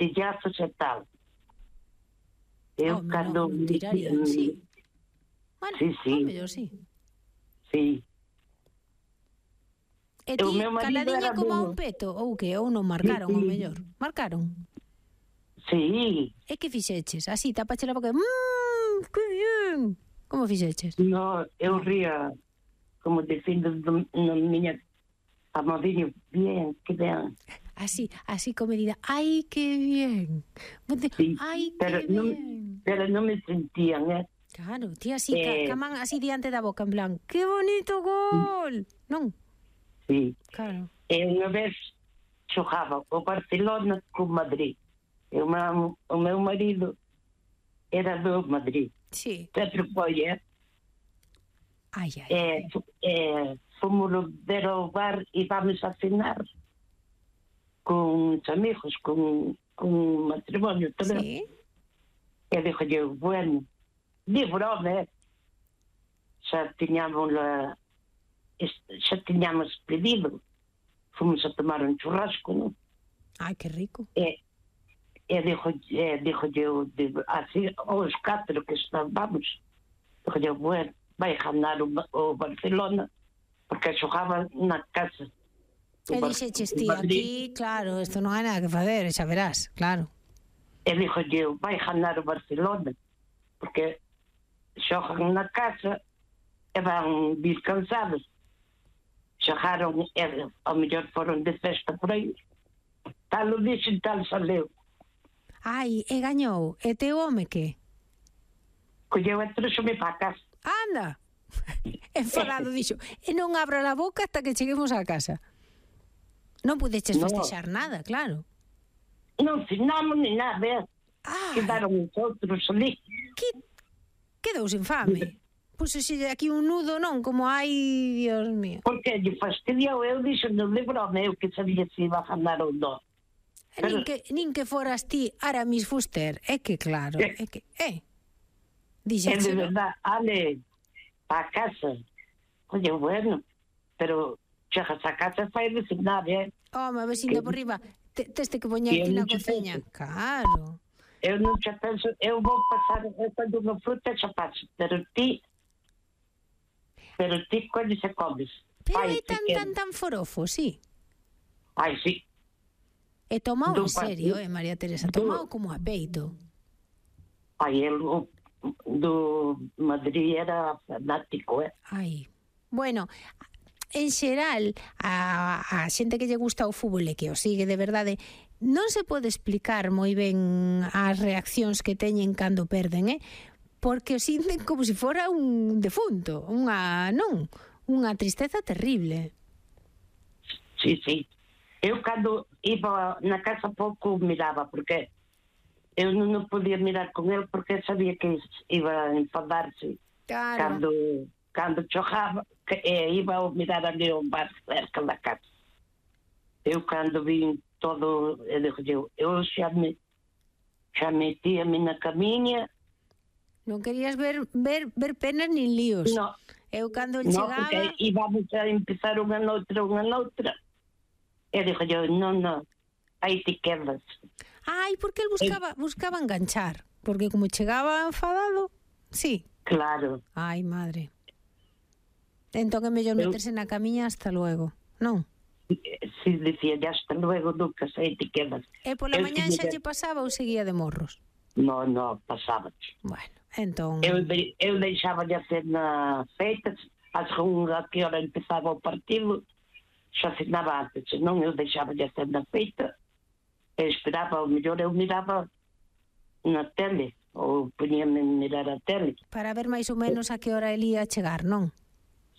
martillazos e tal. Eu cando... tiraría, sí. Bueno, Sí. mellor, sí. Sí. E ti, caladiña como a un menos. peto, ou que? Ou non marcaron, Sí. o mellor? Marcaron? Sí. E que fixeches? Así, tapache la boca, que bien. Como fixeches? No, eu ría como dicindo na miña amadiño, bien, que ben. Así como medida, ai, que bien. Sí, Ai, que bien. pero non me sentían, Claro, ti así, caman así diante da boca, en plan, que bonito gol. Non? Sí. Claro. E unha vez xogaba o Barcelona con Madrid. E o meu marido era do Madrid. Sí. Sempre foi, Ai. fomos ver ao bar e vamos a cenar con os amigos, con matrimonio tamén. Sí. E dixo eu, bueno, de broma, xa tiñamos pedido. Fomos a tomar un churrasco, non? Ai, que rico. E dixo eu, así, os 4 que estábamos, dixo eu, bueno, vai ganar o Barcelona, porque xogaba na casa. E dixeches ti, aquí, claro, isto non hai nada que fazer, xa verás, claro. E dixo eu, vai ganar o Barcelona, porque xogan na casa e van vir cansados. Xogaron, ao mellor foron de festa por aí. Tal o dixen, tal saleu. Ai, e gañou. E teu home que? Colleu e trouxome para casa. Anda! Enfadado, dixo, e non abra a boca hasta que cheguemos á casa. Non pudeches festexar nada, claro. Non cenamos ni nada, Quedaron os outros ali. Quedou sin fame. Puxose aquí un nudo, non? Como hai, Dios mío. Porque lle fastidiou, eu dixo no de broma, eu que sabía se iba a ganar ou non. Nin que foras ti Aramis Fuster, é que claro, é que, Dixeche, de verdad, ale, a casa. Oye, bueno, pero chegas a casa fai designar, Home, vecina por riba, teste que poñerte na cociña. Claro. Eu non xa penso, eu vou pasar esta dunha fruta xa paso, pero ti colle se comes. Pero é tan forofo, sí. Ai, sí. E tomao en serio, María Teresa, tomao como a peito. Ai, el do Madrid era fanático, Ai, bueno, en xeral, a xente que lle gusta o fútbol e que o sigue de verdade, non se pode explicar moi ben as reaccións que teñen cando perden, porque o sinten como se fora un defunto, unha tristeza terrible. Sí. Eu cando iba na casa pouco miraba, porque eu non podía mirar con el porque sabía que iba a enfadarse. Claro. Cando chojaba, iba a mirar ali ao bar cerca da casa. Eu cando vi todo, eu xa metíame na camiña. Non querías ver penas nin líos. No. Eu cando chegaba... No, porque íbamos a empezar unha noutra. E dixo eu, non, aí te quedas. Ai, porque el buscaba enganchar. Porque como chegaba enfadado, sí. Claro. Ai, madre. Entón é mellor meterse na camiña hasta luego, non? Si, dicía, ya hasta luego, Lucas, aí te quedas. E pola mañán xa lle pasaba ou seguía de morros? No, pasaba. Bueno, entón... Eu deixaba de hacer na feitas, a segunda que hora empezaba o partido, xa cenaba antes, senón eu deixaba de hacer na feita, e esperaba, o mellor eu miraba na tele, ou poñíame a mirar a tele. Para ver máis ou menos a que hora el ia chegar, non?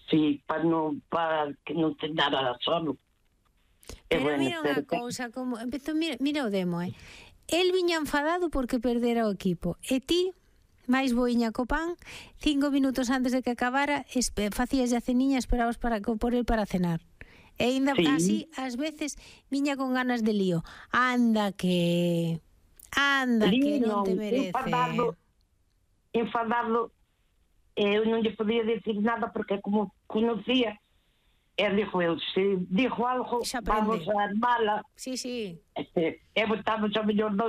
Sí, para que non cenara solo. Pero mira unha cousa, como empezou, mira o demo, el viña enfadado porque perdera o equipo, e ti, máis boiña co pan, 5 minutos antes de que acabara, facías a ceniña, esperabas por el para cenar. E ainda así, ás veces, viña con ganas de lío. Anda que non te merece. Enfadado, eu non lle podía decir nada porque como conocía, dixo eu, se dixo algo, vamos a armala. Sí. E botamos a mellor 2